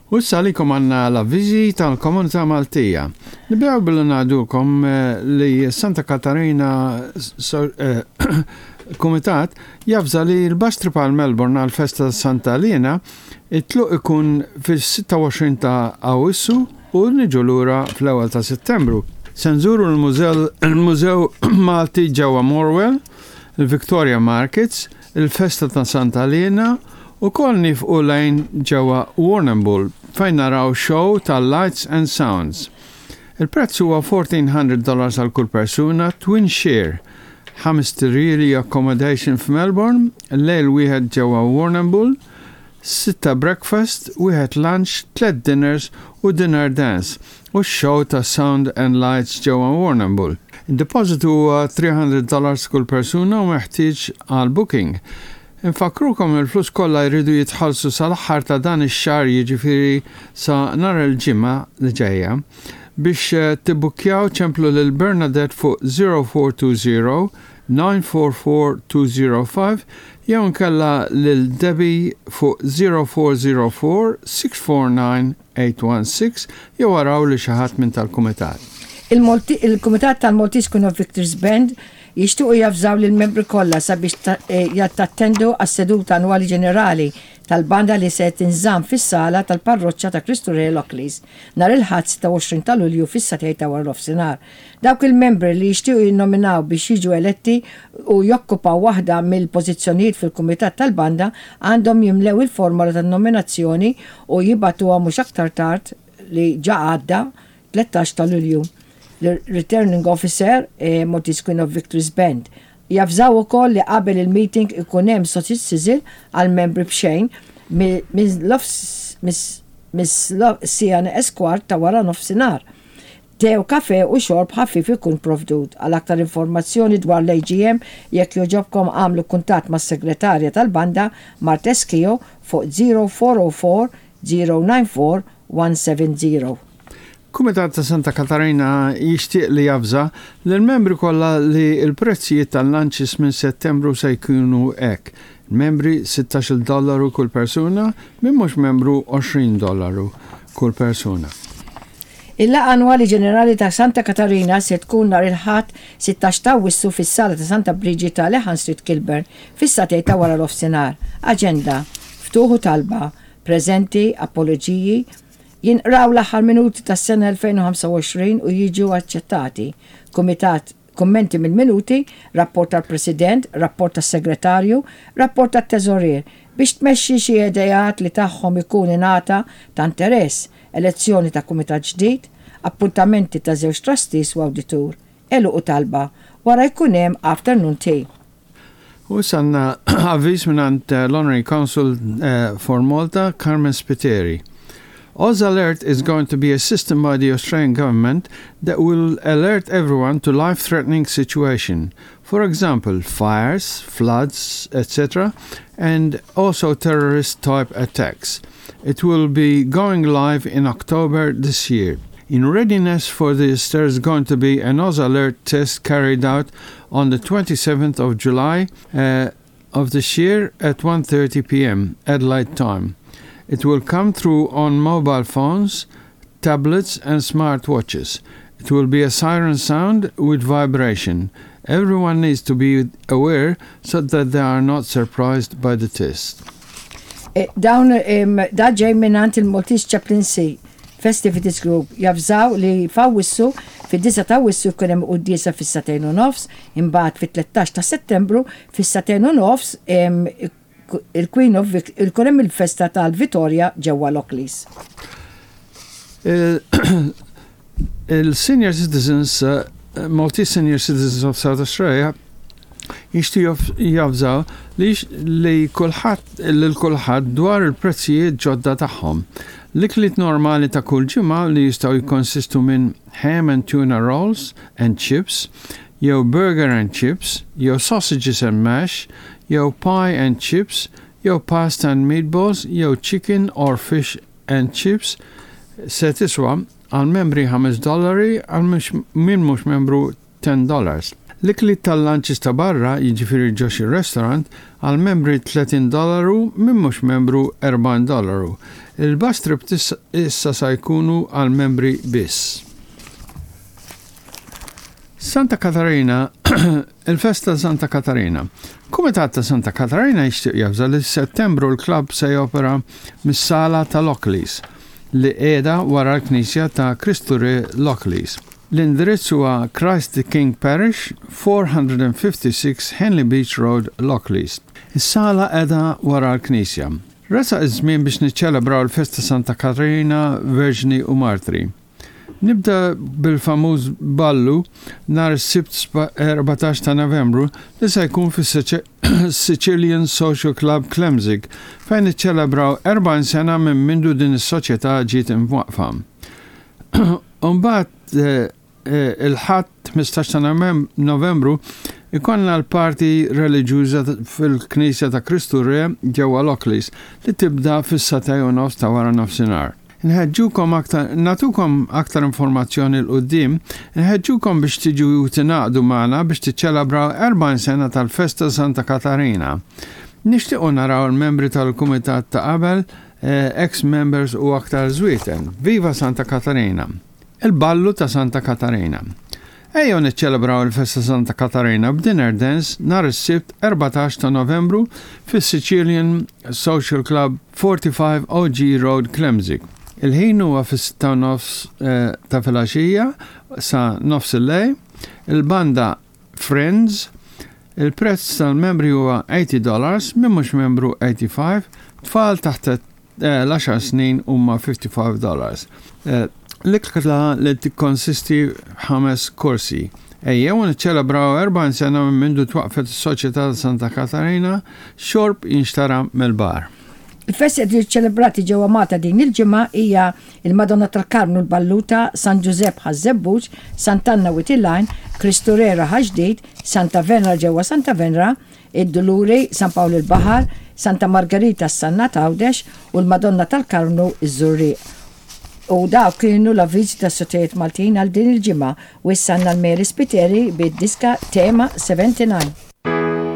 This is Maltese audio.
U issa għalikom għandna l-avviżi tal-Komunità Maltija. Nibdew billi ngħidulkom eh, li Santa Katarina eh, Kumitat javża li l-bus trip għal Melbourne għal festa Santa Lena it-tluq ikun fis-26 ta' Awwissu u niġu lura fl-ewwel ta' Settembru. Se nżuru l-Mużew Malti ġewwa Morwell, il-Victoria Markets, il-festa ta' Santa Liena, ukoll niefqu lejn ġewwa Warrnambool fejn naraw show ta' Lights and Sounds. Il-prezz huwa 1400 dollars għal kull persuna, twin share, ħamest irjieli accommodation f'Melbourne, lejl wieħed ġewwa Warrnambool, sitta breakfast, wieħed lunch, tlett dinners u dinner dance u x-show ta' Sound and Lights ġewwa Warrnambool. Id-depożitu huwa 300 dollars kull persuna u meħtieġ għal booking. Infakkrukom li l-flus kollha jridu jitħallsu sal-aħħar ta' dan ix-xahar jiġifieri sa nhar il-Ġimgħa li ġejja. Biex tibbukkjaw ċemplu lil Bernadette fuq 0420 944 205 jew inkella lil Debbie fuq 0404 649 816 jew araw li xi ħadd minn tal-kumitat. Il-Kumitat tal-Maltese Queen of Victories Band jixtiequ javżaw lill-membri kollha sabiex jattendu għas-seduta annwali ġenerali tal-banda li se tinżamm fis-sala tal-Parroċċa ta' Kristu Re Lockleys nhar il-Ħadd 26 ta' Lulju fis-sagħtejn ta' waranofsinhar. Dawk il-membri li jixtiequ jinnominaw biex jiġu eletti u jokkupaw waħda mill-pożizzjonijiet fil-kumitat tal-banda għandhom jimlew il-formola tan-nominazzjoni u jibagħtuha mhux aktar tard li ġa għadda 13 ta' Lulju lir-Returning Officer, Maltese Queen of Victories Band. Javżaw ukoll li qabel il-meeting ikun hemm sausage sizzle għall-membri b'xejn mis-siegħa neqes kwart ta' waranofsinhar. Te u kafè u xorb ħafif ikun provdut. Għal aktar informazzjoni dwar l-AGM jekk jogħġobkom agħmlu kuntatt mas-segretarja tal-banda Marthe Schio fuq 0404 094 170. Kumitat ta' Santa Katarina jixtieq li javża lill-membri kollha li l-prezzijiet tal-lunches minn Settembru se jkunu hekk, membri 16-il dollaru kull persuna, min mhux membru 20 dollaru kull persuna. Il-Laqgħa Annwali Ġenerali ta' Santa Katarina se tkun nhar il-Ħadd 16 ta' Awwissu fis-Sala ta' Santa Briġita, Lehan Street, Kilburn, fis-sagħtejn ta' waranofsinhar. Aġenda, Ftuħ u talba, Preżenti, Apoloġiji, Jinqraw l-aħħar minuti tas-sena 2025 u jiġu aċċettati. Kumitat, Kummenti mill-minuti, Rapport tal-President, Rapport tas-Segretarju, Rapport tat-Teżorier, biex tmexxi xi ideat li tagħhom ikun ingħata ta' interess, elezzjoni ta' kumitat ġdid, appuntamenti ta' żewġ trustees u awditur, għeluq u talba, wara jkun hemm afternoon tea. U issa għandna avviż mingħand l-Honorary Consul for Malta, Carmen Spiteri. Oz Alert is going to be a system by the Australian government that will alert everyone to life-threatening situation. For example, fires, floods, etc., and also terrorist-type attacks. It will be going live in October this year. In readiness for this, there is going to be an Oz Alert test carried out on the 27th of July uh, of this year at 1.30 p.m. Adelaide time. It will come through on mobile phones, tablets and smartwatches. It will be a siren sound with vibration. Everyone needs to be aware so that they are not surprised by the test. Eh, dawn da ġej mingħand il-Maltese Chaplaincy Festivities Group javżaw li f'Awwissu, fid-disgħa ta' Awwissu jkun hemm quddiesa fis-sagħtejn u nofs, imbagħad fit-tlettax ta' Settembru fis-sagħtejn u nofs il-Queen of ikun hemm il-festa tal-Vitorja ġewwa Lockleys. Il-Senior Citizens, Maltese Senior Citizens of South Australia, jixtiequ javżaw li li kulħadd lil kulħadd dwar il-prezzijiet ġodda tagħhom. L-ikliet normali ta' kull ġimgħa li jistgħu jikkonsistu minn ham and tuna rolls and chips, jew burger and chips, jew sausages and mash, jew pie and chips, jew pasta and meatballs, jew chicken or fish and chips se tiswa għal membri ħames dollari għal min mhux membru $10. L-ikliet tal-lunches ta' barra, jiġifieri ġo xi restaurant, għal membri 30 dollaru, min mhux membru 40 dollaru. Il-bus trip issa sa jkunu għal membri biss. Santa Katarina, il-festa Santa Katarina. Kumitat ta' Santa Katarina jixtieq javża li Settembru l-klabb se jopera mis-sala ta' Lockleys li qiegħda wara l-Knisja ta' Kristu Re Lockleys. L-indirizz huwa Christ the King Parish, 456 Henley Beach Road, Lockleys. Is-sala qiegħda wara l-knisja. Resaq iż-żmien biex niċċelebraw il-festa Santa Katarina Verġni u Martri. Nibda bil-famuż ballu nhar is-Sibt 14 ta' Novembru li se jkun fis-Sicilian Social Club Klemzig fejn niċċelebraw 40 sena minn mindu din is-soċjetà ġiet imwaqqfa. U mbagħad il-Ħadd 15 ta' Novembru ikollna l-party reliġjuża fil-Knisja ta' Kristu Re ġewwa Lockleys li tibda fis-sagħtej u nofs ta' wara nofsinhar. Nħeġġukom aktar, nagħtukom aktar informazzjoni 'l quddiem, nħeġġukom biex tiġu u tingħaqdu magħna biex tiċċelebraw 40 sena tal-Festa Santa Katarina. Nixtiequ naraw il-membri tal-kumitat ta' qabel, ex-members u aktar żwieten. Viva Santa Katarina! Il-ballu ta' Santa Katarina. Ejjew niċċelebraw il-festa Santa Katarina b'dinner dance nhar is-Sibt 14 ta' Novembru fis-Sicilian Social Club 45 OG Road Klemzig. Il-ħin huwa fis-sitta u nofs eh, ta' filgħaxija sa nofs il-lejl. Il-banda Friends Il-prezz tal-membri huwa 80 dollars, min mhux membru 85, tfal taħt l-għaxar snin huma 55 dollars. L-ikla li tikkonsisti f'ħames korsi. Ejjew niċċelebraw 40 sena minn mindu twaqqfet is-Soċjetà ta' Santa Katarina, xorb jinxtara mill-bar. Il-festi qed jiġu ċċelebrati ġewwa Malta din il-ġimgħa hija il-Madonna tal-Karmnu l-Balluta, San Ġużepp Ħaż-Żebbuġ, Sant'Anna Wied il-Għajn, Kristu Re Raħal Ġdid, Santa Venra ġewwa Santa Venra, id-Duluri, San Pawl il-Baħar, Santa Margerita s-Sannat Għawdex u l-Madonna tal-Karmnu ż-Żurrieq. U dawk kienu l-avviżi tas-Soċjetajiet Maltin għal din il-ġimgħa u issa għandna l-Mary Spiteri bid-diska Tema 79.